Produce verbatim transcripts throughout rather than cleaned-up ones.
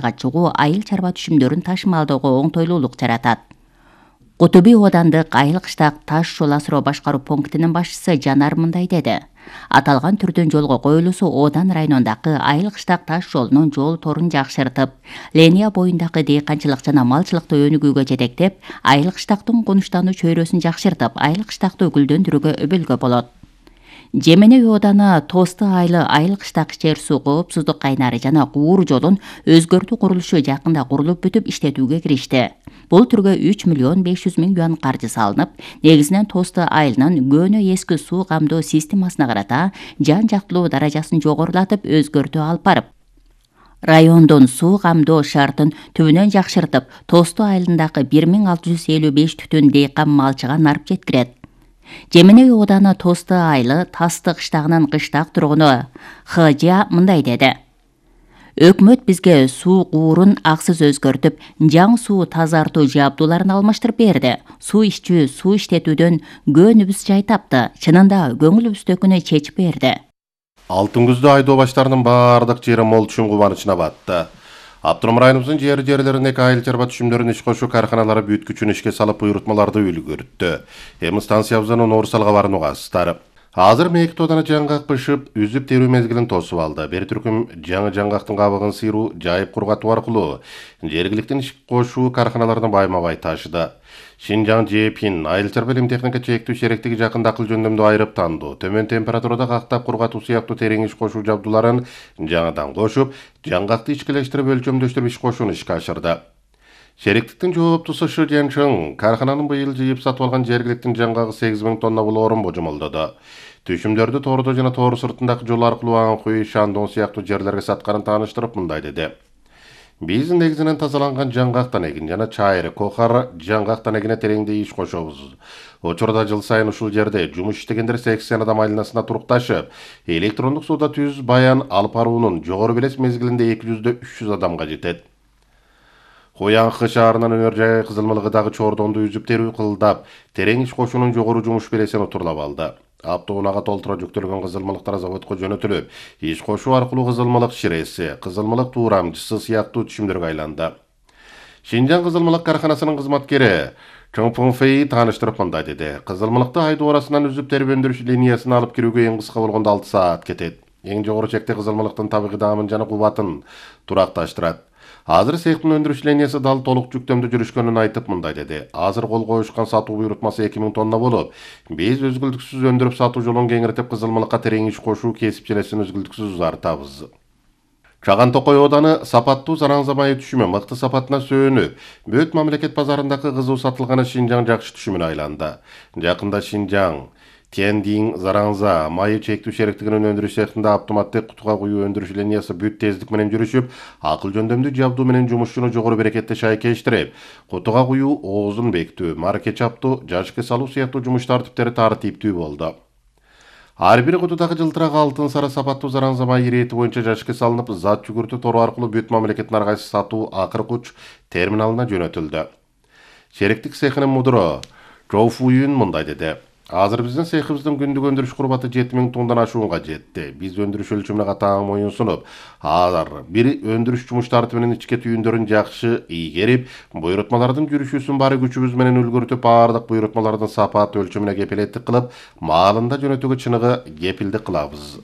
чыгуу айыл чарба түшүмдөрүн ташымалдоого оңтойлуулук жаратат. Кутуби оодандык айыл кыштак таш жол асыроо башкаруу пунктинин башчысы Жанар мындай деди. Аталган түрдүн жолго коюлуусу Оодан районундагы айыл кыштак таш жолунун жол торун жакшыртып, линия боюндагы дыйканчылык жана малчылыкты өнүгүүгө жетектеп, айыл кыштактын конуштануу чөйрөсүн жакшыртып, айыл кыштакты гүлдөндүрүүгө өбөлгө болот. Жеменей ооданы Тосты айылы айыл кыштак ичер суу коопсуздук кайнары жана куур жолун өзгөртүү курулушу жакында курулуп бүтүп иштетүүгө киришти. Бул түргө үч миллион беш жүз миң юан каржы салынып, негизинен Тосты айылынын көөнө эски суу камдоо системасына карата жан жактылуу даражасын жогорулатып, өзгөртүү алып барып, райондун суу камдоо шартын түбүнөн жакшыртып, Тосты айылындагы бир миң алты жүз элүү беш түтүн дыйкан малчыга нарып жеткирет. Жеменей ооданы Тосты айылы Тасты кыштагынын кыштак тургуну Хыжа мындай деди. Өкмөт бизге суу куурун аксыз өзгөртүп, жаңы суу тазартуу жабдууларын алмаштырып берди. Суу ичүү, суу иштетүүдөн көөнүбүз жай тапты. Чынында көңүлүбүздөгүнү чечип берди. Алтын күздө айдоо баштарынын баардык жери мол түшүм кубанычына батты. Автоном районубуздун жер жерлерине айыл чарба түшүмдөрүн иш кошуу карканалары бүт күчүн ишке салып буйрутмаларды үлгүрттү. Эми станциябыздын Орусалга баруугасыздар. Азыр мейкт ооданы жаңгак бышып, үзүп терүү мезгилин тосуп алды. Бир түркүм жаңы жаңгактын кабыгын сыйруу, жайып кургатуу аркылуу жергиликтин иш кошуу карканаларына байма-бай ташыды. Шинжаң Жепин айыл чарба илим техника чектүү шериктиги жакында акыл жөндөмдү айырып танду. Төмөн температурада кактап кургатуу сыяктуу терең иш кошуу жабдууларын жаңыдан кошуп, жаңгакты ичкилештирип өлчөмдөштүрүп иш кошууну ишке ашырды. Шериктиктин жооптусу Шы Жэнчиң каркананын быйыл жыйып сатып алган жергиликтин жаңгагы сегиз миң тонна болоорун божомолдоду. Түшүмдөрдү тоордо жана тоору сыртындагы жол аркылуу Аңкуй, Шандон сыяктуу жерлерге сатканын тааныштырып мындай деди. Биз негизинен тазаланган жаңгактан эгин жана чайры, кохар жаңгактан эгине тереңдей иш кошобуз. Учурда жыл сайын ушул жерде жумуш иштегендер сексен адам айланасына турукташып, электрондук сууда түз баян алып баруунун жогору белес мезгилинде эки жүздөн үч жүз адамга жетет. Коянкы шаарынын өнөр жай кызылмылыгы дагы чордонду үзүп терүү кылдап, терең иш кошуунун жогору жумуш белесин утурлап алды. Автоунага толтура жүктөлгөн кызылмылыктар заводко жөнөтүлүп, иш кошуу аркылуу кызылмылык ширеси, кызылмылык туурамчысы сыяктуу түшүмдөргө айланды. Шинжаң кызылмылык карканасынын кызматкери Чоң Фэй тааныштырып мындай деди. Кызылмылыкты айдоо арасынан үзүп терип өндүрүш линиясына алып кирүүгө эң кыска болгондо алты саат кетет. Эң жогору чекте кызылмылыктын табигый даамын жана кубатын туракташтырат. Азыр цехтин өндүрүш линиясы дал толук жүктөмдө жүрүшкөнүн айтып мындай деди. Азыр кол коюшкан сатуу буйрутмасы эки миң тонна болуп, биз өзгүлтүксүз өндүрүп сатуу жолун кеңиртип кызылмылыкка терең иш кошуу кесип желесин өзгүлтүксүз узартабыз. Чаган Токой ооданы сапаттуу Зараңза майы түшүмү мыкты сапатына сөөнүп, бүт мамлекет базарындагы кызуу сатылганы Шинжаң жакшы түшүмүнө айланды. Жакында Шинжаң Тендин Зараңза майы чектүү шериктигинин өндүрүш цехинде автоматтык кутуга куюу өндүрүш линиясы бүт тездик менен жүрүшүп, акыл жөндөмдүү жабдуу менен жумушчуну жогору берекетте шайкештирип, кутуга куюу оозун бекитүү, марке чаптоо, жашкы салуу сыяктуу жумуш тартиптери тартиптүү болду. Ар бир кутудагы жылтырак алтын сары сапаттуу Зараңза майы ирети боюнча жашкы салынып, зат жүгүртүү тору аркылуу бүт мамлекеттин ар кайсы сатуу акыркы уч терминалына жөнөтүлдү. Шериктик цехинин мудуру Чоу Фуюн мындай деди. Азыр биздин цехибиздин күндүк өндүрүш курбаты жети миң тоннадан ашуунга жетти. Биз өндүрүш өлчөмүнө катаң моюн сунуп, азыр бир өндүрүш жумуш тартибинин ичке түйүндөрүн жакшы ийгерип, буйрутмалардын жүрүшүүсүн баары күчүбүз менен үлгүртүп, баардык буйрутмалардын сапаты өлчөмүнө кепилеттик кылып, маалында жөнөтүүгө чыныгы кепилдик кылабыз.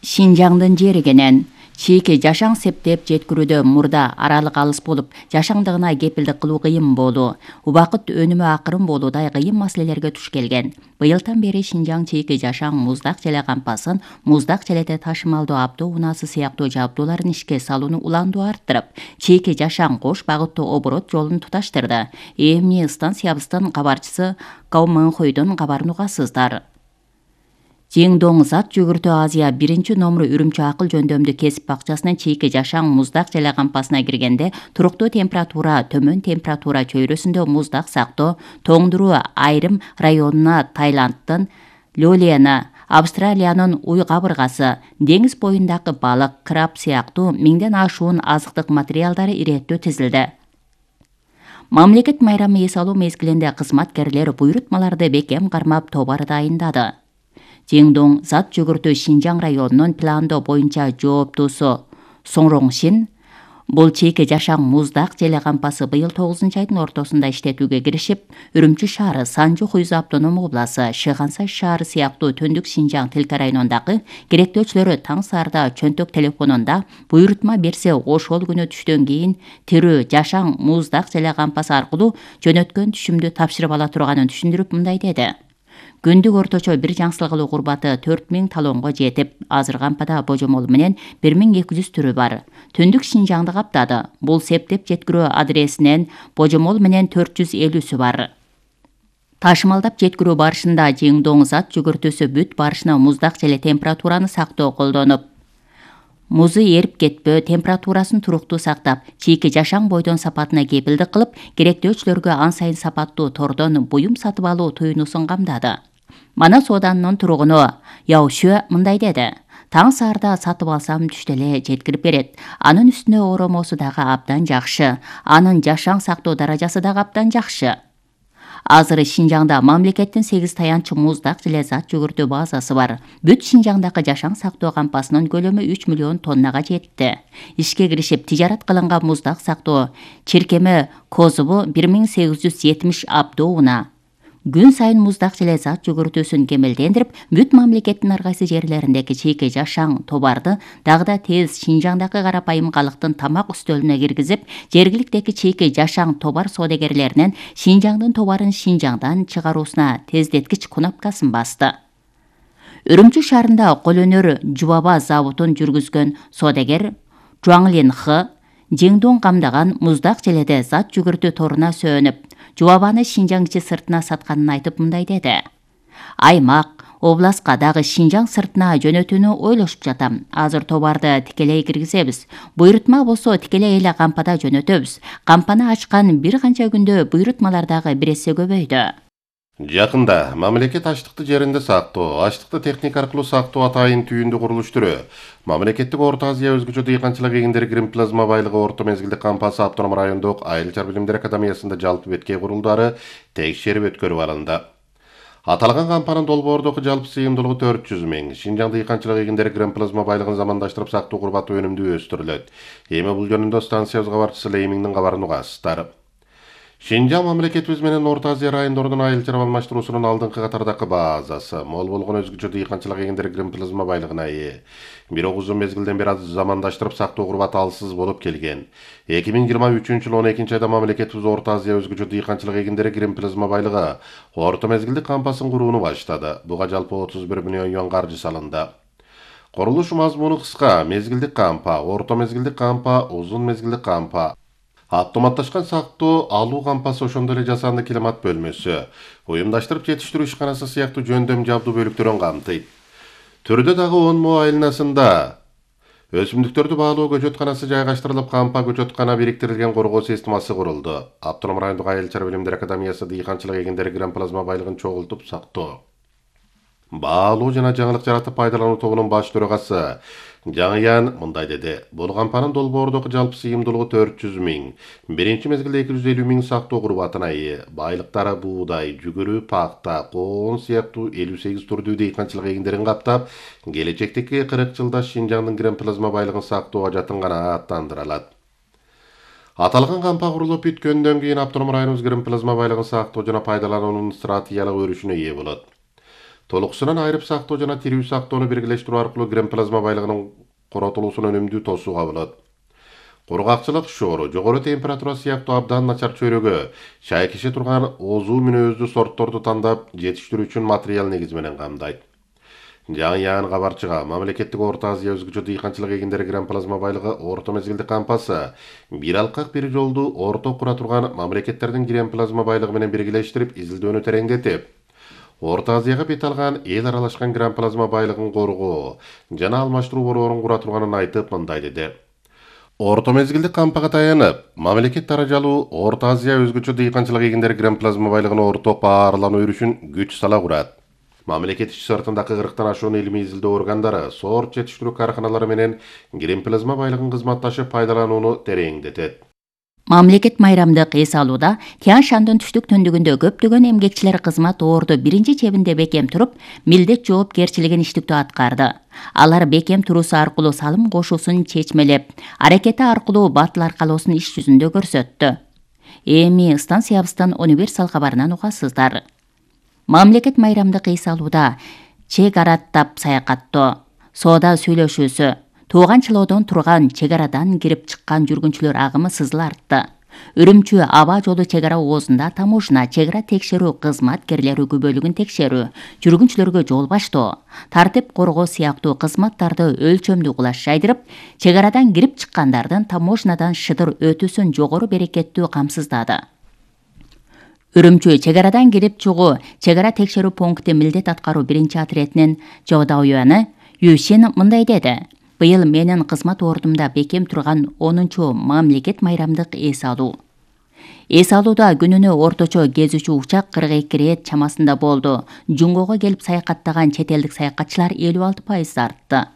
Шинжаңдын жеригенен чийки жашаң септеп жеткирүүдө мурда аралык алыс болуп, жашаңдыгына кепилдик кылуу кыйын болуу, убакыт өнүмү акырын болуудай кыйын маселелерге туш келген. Быйылдан бери Шинжаң чийки жашаң муздак желе кампасын, муздак желете ташымалдоо автоунаасы сыяктуу жабдууларын ишке салууну уланду арттырып, чийки жашаң кош багыттуу оборот жолун туташтырды. Эми станциябыздын кабарчысы Кау Мэнхойдун кабарын угасыздар. Жеңдоң зат жүгүртүү Азия биринчи номеру Үрүмчү акыл жөндөмдүү кесип бакчасынын чийки жашаң муздак желе кампасына киргенде туруктуу температура, төмөн температура чөйрөсүндө муздак сактоо, тоңдуруу айрым районуна Таиландтын Лёлена, Австралиянын уй кабыргасы, деңиз боюндагы балык, краб сыяктуу миңден ашуун азыктык материалдары иреттөө тизилди. Мамлекет майрамы эс алуу мезгилинде кызматкерлер буйрутмаларды бекем кармап тобар дайындады. Жеңдоң зат жүгүртүү Шинжаң районунун пландоо боюнча жооптуусу Соңроңшин Бул чийки жашаң муздак желе кампасы быйыл тогузунчу айдын ортосунда иштетүүгө киришип, Үрүмчү шаары, Санжу Хуйзу автономдук областы, Шыгансай шаары сыяктуу Төндүк Шинжаң тилка районундагы керектөөчүлөрү таң саарда чөнтөк телефонунда буйрутма берсе ошол күнү түштөн кийин тирүү жашаң муздак желе кампасы аркылуу жөнөткөн түшүмдү тапшырып ала турганын түшүндүрүп мындай деди. Күндүк орточо бир жаңсылык алуу курбаты төрт миң талонго жетип, азыр кампада божомол менен бир миң эки жүз түрү бар. Төндүк Шинжаңды каптады. Бул септеп жеткирүү адресинен божомол менен төрт жүз элүүсү бар. Ташымалдап жеткирүү барышында жеңдоң зат жүгүртүүсү бүт барышына муздак желе температураны сактоо колдонуп, музу эрип кетпөө, температурасын туруктуу сактап, чийки жашаң бойдон сапатына кепилдик кылып, керектөөчүлөргө ан сайын сапаттуу тордон буюм сатып алуу туюнусун камдады. Мана сооданын тургуну Яушө мындай деди. Таң саарда сатып алсам түштө эле жеткирип берет. Анын үстүнө оромосу дагы абдан жакшы. Анын жашаң сактоо даражасы дагы абдан жакшы. Азыр Шинжаңда мамлекеттин сегиз таянчы муздак желе зат жүгүртүү базасы бар. Бүт Шинжаңдагы жашаң сактоо кампасынын көлөмү үч миллион тоннага жетти. Ишке киришип тижарат кылынган муздак сактоо чиркеми козубу бир миң сегиз жүз жетимиш абдоуна. Күн сайын муздак желе зат жүгүртүүсүн кемелдендирип, бүт мамлекеттин ар кайсы жерлериндеги чийки жашаң товарды дагы да тез Шинжаңдагы карапайым калктын тамак үстөлүнө киргизип, жергиликтеги чийки жашаң товар соодагерлеринен Шинжаңдын товарын Шинжаңдан чыгаруусуна тездеткич кнопкасын басты. Үрүмчү шаарында кол өнөр жубаба заводун жүргүзгөн соодагер Жуаңлин Х жеңдоң камдаган муздак желеде зат жүгүртүү торуна сөөнүп, жубабаны Шинжаң ичи сыртына сатканын айтып мындай деди. Аймак, областка дагы Шинжаң сыртына жөнөтүүнү ойлошуп жатам. Азыр товарды тикелей киргизебиз. Буйрутма болсо тикелей эле кампада жөнөтөбүз. Кампаны ачкан бир канча күндө буйрутмалар дагы бир эсе көбөйдү. Жакында мамлекет ачтыкты жеринде сактоо, ачтыкты техника аркылуу сактоо атайын түйүндү курулуштуруу, мамлекеттик Орто Азия өзгөчө дыйканчылык эгиндери гримплазма байлыгы орто мезгилдик кампасы автоном райондук Айыл чар билимдер академиясында жалпы беткей курулдары текшерип өткөрүп алынды. Аталган кампанын долбоордук жалпы сыйымдуулугу төрт жүз миң. Шинжаң дыйканчылык эгиндери гримплазма байлыгын замандаштырып сактоо курбаты өнүмдүү өстүрүлөт. Эми бул жөнүндө станциябыз кабарчысы Леймиңдин кабарын угасыздар. Шинжаң мамлекетибиз менен Орто Азия райондорунун айыл чар алмаштыруусунун алдыңкы катардагы базасы, мол болгон өзгөчө дыйканчылык эгиндери гримплазма байлыгына ээ. Бирок узун мезгилден бери замандаштырып сактоо курбаты алсыз болуп келген. эки миң жыйырма үчүнчү жылы он экинчи айда мамлекетибиз Орто Азия өзгөчө дыйканчылык эгиндери гримплазма байлыгы орто мезгилдик кампасын курууну баштады. Буга жалпы отуз бир миллион юан каржы салынды. Курулуш мазмуну кыска: мезгилдик кампа, орто мезгилдик кампа, узун мезгилдик кампа. Автоматташкан сактоо алуу кампасы, ошондой эле жасанды климат бөлмөсү, уюмдаштырып жетиштирүү ишканасы сыяктуу жөндөм жабдуу бөлүктөрүн камтыйт. Түрдө дагы он мо айланасында өсүмдүктөрдү баалоо көчөтканасы жайгаштырылып, кампа көчөткана бириктирилген коргоо системасы курулду. Автоном райондук Айыл чар билимдер академиясы дыйканчылык эгиндери гримплазма байлыгын чогултуп сактоо, баалоо жана жаңылык жаратып пайдалануу тобунун баш төрагасы Жаңыян мындай деди. Бул кампанын долбоордук жалпы сыйымдуулугу төрт жүз миң. Биринчи мезгилде эки жүз элүү миң сактоо курбатына ээ. Байлыктары буудай, жүгүрү, пакта, коон сыяктуу элүү сегиз түрдүү дыйканчылык эгиндерин каптап, келечектеги кырк жылда Шинжаңдын гримплазма байлыгын сактоого жатынганы аттандырылат. Аталган кампа курулуп бүткөндөн кийин автоном районубуз гримплазма байлыгын сактоо жана пайдалануунун стратегиялык өрүшүнө ээ болот. Толуксунан айрып сактоо жана тирүү сактоону биргелештирүү аркылуу гримплазма байлыгынын коротулуусун өнүмдүү тосууга болот. Кургакчылык шоору, жогору температура сыяктуу абдан начар чөйрөгө шайкеше турган озуу мүнөздүү сортторду тандап жетиштирүү үчүн материал негизи менен камдайт. Жаңыян кабарчыга мамлекеттик Орто Азия өзгөчө дыйканчылык эгиндери гримплазма байлыгы орто мезгилдик кампасы бир алкак бир жолду орто кура турган мамлекеттердин гримплазма байлыгы менен биргелештирип, изилдөөнү тереңдетип, Орто Азияга бет алган эл аралашкан гримплазма байлыгын коргоо жана алмаштыруу борборун кура турганын айтып мындай деди. Орто мезгилдик кампага таянып, мамлекет даражалуу Орто Азия өзгөчө дыйканчылык эгиндери гримплазма байлыгын орток баарлануу өрүшүн күч сала курат. Мамлекет ич сыртындагы кырктан ашуун илимий изилдөө органдары, сорт жетиштирүү карканалары менен гримплазма байлыгын кызматташып пайдаланууну тереңдетет. Мамлекет майрамдык эс алууда Тянь Шандын түштүк түндүгүндө көптөгөн эмгекчилер кызмат орду биринчи чебинде бекем туруп, милдет жоопкерчилигин иштиктүү аткарды. Алар бекем туруусу аркылуу салым кошуусун чечмелеп, аракети аркылуу батыл аркалоосун иш жүзүндө көрсөттү. Эми станциябыздан универсал кабарынан угасыздар. Мамлекет майрамдык эс алууда чек араттап саякаттоо, соода сүйлөшүүсү, тууган чылоодон турган чек арадан кирип чыккан жүргүнчүлөр агымы сызыла артты. Үрүмчү аба жолу чек ара оозунда таможня, чек ара текшерүү кызматкерлери күбөлүгүн текшерүү, жүргүнчүлөргө жол баштоо, тартип коргоо сыяктуу кызматтарды өлчөмдүү кылаш жайдырып, чек арадан кирип чыккандардын таможнядан шыдыр өтүүсүн жогору берекеттүү камсыздады. Үрүмчү чек арадан кирип чыгуу чек ара текшерүү пункти милдет аткаруу биринчи отрядынын жабдауяны Юсин мындай деди: Быйыл менин кызмат ордумда бекем турган онунчу мамлекет майрамдык эс алуу. Эс алууда күнүнө орточо кезүүчү учак кырк эки ирет чамасында болду. Жунгого келип саякаттаган чет элдик саякатчылар элүү алты пайыз артты.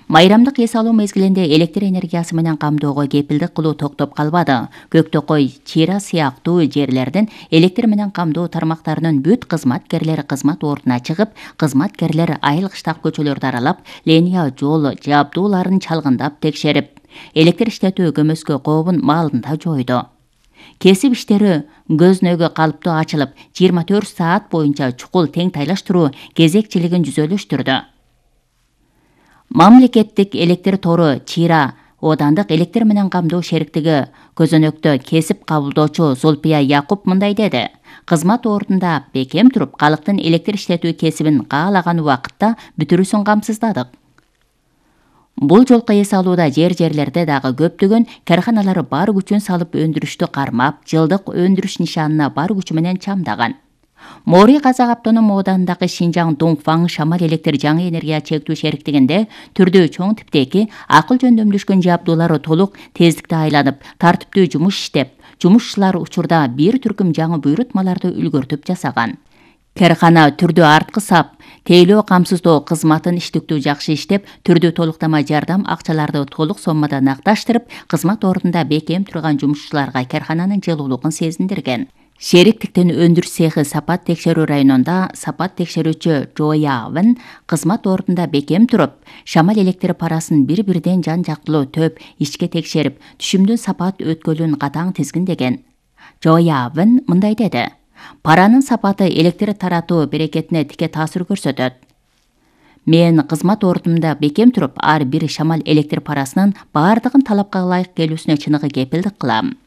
Майрамдык эс алуу мезгилинде электр энергиясы менен камдоого кепилдик кылуу токтоп калбады. Көктөкөй, Чира сыяктуу жерлердин электр менен камдоо тармактарынын бүт кызматкерлери кызмат ордуна чыгып, кызматкерлер айыл кыштак көчөлөрдү аралап, линия жол жабдууларын чалгындап текшерип, электр иштетүү көмөскө кообун маалында жойду. Кесип иштери көзнөгө калыптуу ачылып, жыйырма төрт саат боюнча чукул тең тайлаштыруу кезекчилигин жүзөлөштүрдү. Мамлекеттик электр тору Чира оодандык электр менен камдоо шериктиги көзөнөктө кесип кабылдоочу Зулпия Якуп мындай деди: Кызмат ордунда бекем туруп, калктын электр иштетүү кесибин каалаган убакытта бүтүрүүсүн камсыздадык. Бул жолку эс алууда жер-жерлерде дагы көптөгөн карханалар бар күчүн салып өндүрүштү кармап, жылдык өндүрүш нишанына бар күчү менен чамдаган. Мори Казак автоном оодандагы Шинжаң Дуңфаң шамал электр жаңы энергия чектүү шериктигинде түрдүү чоң типтеги акыл жөндөмдүшкөн жабдуулары толук тездикте айланып, тартиптүү жумуш иштеп, жумушчулар учурда бир түркүм жаңы буйрутмаларды үлгөртүп жасаган. Кархана түрдүү арткы сап, тейлөө камсыздоо кызматын иштиктүү жакшы иштеп, түрдүү толуктама жардам акчаларды толук соммада накташтырып, кызмат ордунда бекем турган жумушчуларга кархананын жылуулугун сезиндирген. Шериктиктин өндүрүш цехи Сапат текшерүү районунда Сапат текшерүүчү Жоявын кызмат ордунда бекем туруп, шамал электр парасын бир-бирден жан жактылуу төп ичке текшерип, түшүмдүн сапат өткөлүн катаң тизгиндеген. Жоявын мындай деди: Паранын сапаты электр таратуу берекетине тике таасир көрсөтөт. Мен кызмат ордумда бекем туруп, ар бир шамал электр парасынын баардыгын талапка ылайык келүүсүнө чыныгы кепилдик кылам.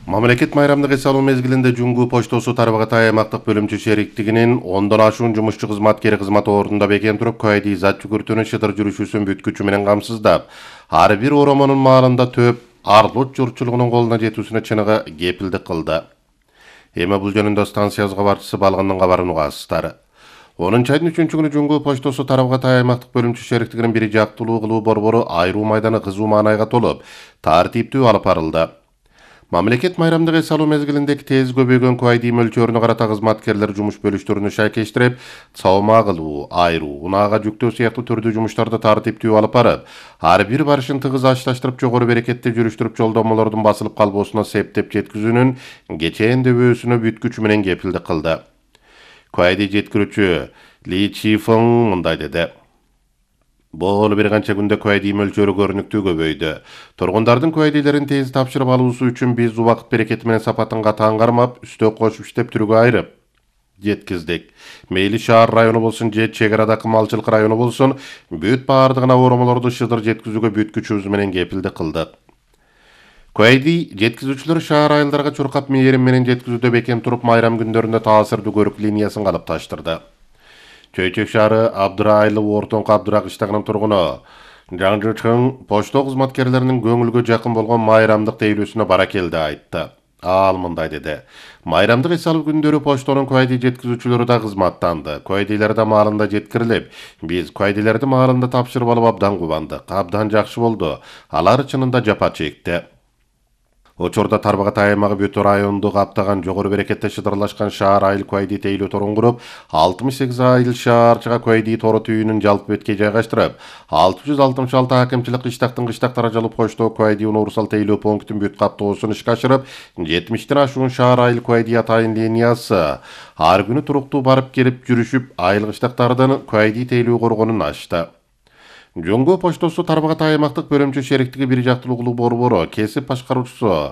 Мамлекет майрамдык эс алуу мезгилинде Жуңгу поштосу Тарбагатай аймактык бөлүмчү шериктигинин ондон ашуун жумушчу кызматкери кызмат ордунда бекем туруп, Куайди зат жүгүртүүнүн шыдыр жүрүшүүсүн бүткүчү менен камсыздап, ар бир оромонун маалында төп арлут журтчулугунун колуна жетүүсүнө чыныгы кепилдик кылды. Эми бул жөнүндө станциябыз кабарчысы Балгындын кабарын угасыздар. онунчу айдын үчүнчү күнү Жуңгу поштосу Тарбагатай аймактык бөлүмчү шериктигинин бир жактылуу кылуу борбору айруу майданы кызуу маанайга толуп, тартиптүү алып барылды. Мамлекет майрамдык эс алуу мезгилиндеги тез көбөйгөн Куайди мөлчөрүнө карата кызматкерлер жумуш бөлүштөрүнү шайкештирип, саома кылуу, айруу, унаага жүктөө сыяктуу түрдүү жумуштарды тартиптүү алып барып, ар бир барышын тыгыз ачлаштырып, жогору берекетти жүрүштүрүп, жолдомолордун басылып калбоосуна септеп жеткизүүнүн кечээндебөөсүнө бүткүчү менен кепилдик кылды. Куайди жеткирүүчү Ли Чифeng мындай деди: Бул бир канча күндө Куайди мөлчөрү көрүнүктүү көбөйдү. Тургундардын Куайдилерин тез тапшырып алуусу үчүн биз убакыт берекети менен сапатын катаң кармап, үстө кошуп иштеп түргө айрып жеткиздик. Мейли шаар району болсун же чек арадагы малчылык району болсун, бүт баардыгына оромолорду шыдыр жеткизүүгө бүткүчүбүз менен кепилдик кылдык. Куайди жеткизүүчүлөр шаар айылдарга чуркап мээрим менен жеткизүүдө бекем туруп, майрам күндөрүндө таасирдүү көрүк линиясын калыпташтырды. Чөйчөк шаары Абдыра айылы ортоңку Абдыра кыштагынын тургуну Жаңжычың почто кызматкерлеринин көңүлгө жакын болгон майрамдык тейлөөсүнө бара келди айтты. Ал мындай деди: Майрамдык эс алуу күндөрү поштонун Куайди жеткизүүчүлөрү да кызматтанды. Куайдилер да маалында жеткирилип, биз Куайдилерди маалында тапшырып алып абдан кубандык. Абдан жакшы болду. Алар чынында жапа чекти. Учурда Тарбагатай аймагы Бөтө районунду каптаган жогору берекетте шыдырлашкан шаар айыл Куайди тейлөө торун куруп, алтымыш сегиз айыл шаарчыга Куайди тору түйүнүн жалпы бетке жайгаштырып, алты жүз алтымыш алты акимчилик кыштактын кыштактара жалып коштоо Куайди универсал тейлөө пунктун бүт каптоосун ишке ашырып, жетимиштен ашуун шаар айыл Куайди атайын линиясы ар күнү туруктуу барып келип жүрүшүп, айыл кыштактардан Куайди тейлөө коргонун ачты. Жоңго поштосу Тарбагатай аймактык бөлүмчө шериктиги бир жактылуулуу борбору кесип башкаруучусу